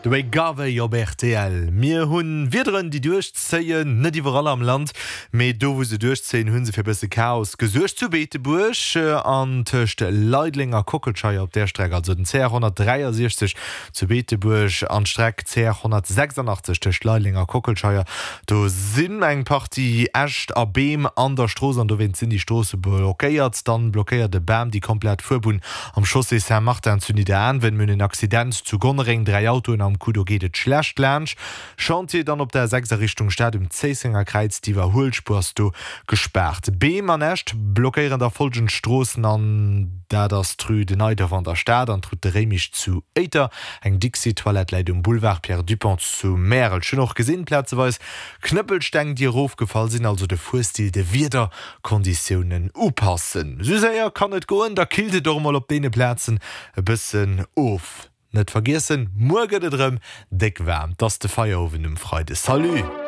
De Ray Garvey op rtl. Mir hunn Wiederen déi duerchzéien, net iwwerall am Land, mee do wou se duerchzéien hu se fir bësse Chaos gesuergt. Zu Beetebuerg an tëscht Leideleng a Kockelscheier op där Streck, also den CR 163 zu Beetebuerg an d'Streck CR 186 tëscht Leideleng a Kockelscheier, do sinn eng Partie Äscht a Beem an der Strooss an dowéinst sinn déi Stroosse blockéiert. Dann blockéiert e Bam déi komplett Fuerbunn Am Chaussée Saint-Martin zu Nidderaanwen, mir hunn en Accident zu Gonnereng, 3 Autoen am Coup, do geet et schlecht laanscht. Chantier dann op der A6 a Richtung Stad um Zéissenger Kräiz, d'Iwwerhuelspuer ass do gespaart. Beem an Äscht blockéieren da folgend Stroossen an dat ass d'Rue de Neidorf an der Stad an d'Route de Réimich zu Éiter. Eng Dixi-Toilette läit um Boulevard Pierre Dupong zu Märel. Ech hunn och gesinn, plazeweis Knëppelsteng déi erofgefall sinn, also de Fuerstil de Wieder Konditiounen upassen. Sou séier kann et goen, da killt et och emol op deene Plazen e bëssen of. Net vergiessen, muer gëtt et erëm déck waarm, 't ass de Feierowend um Freide. Salut!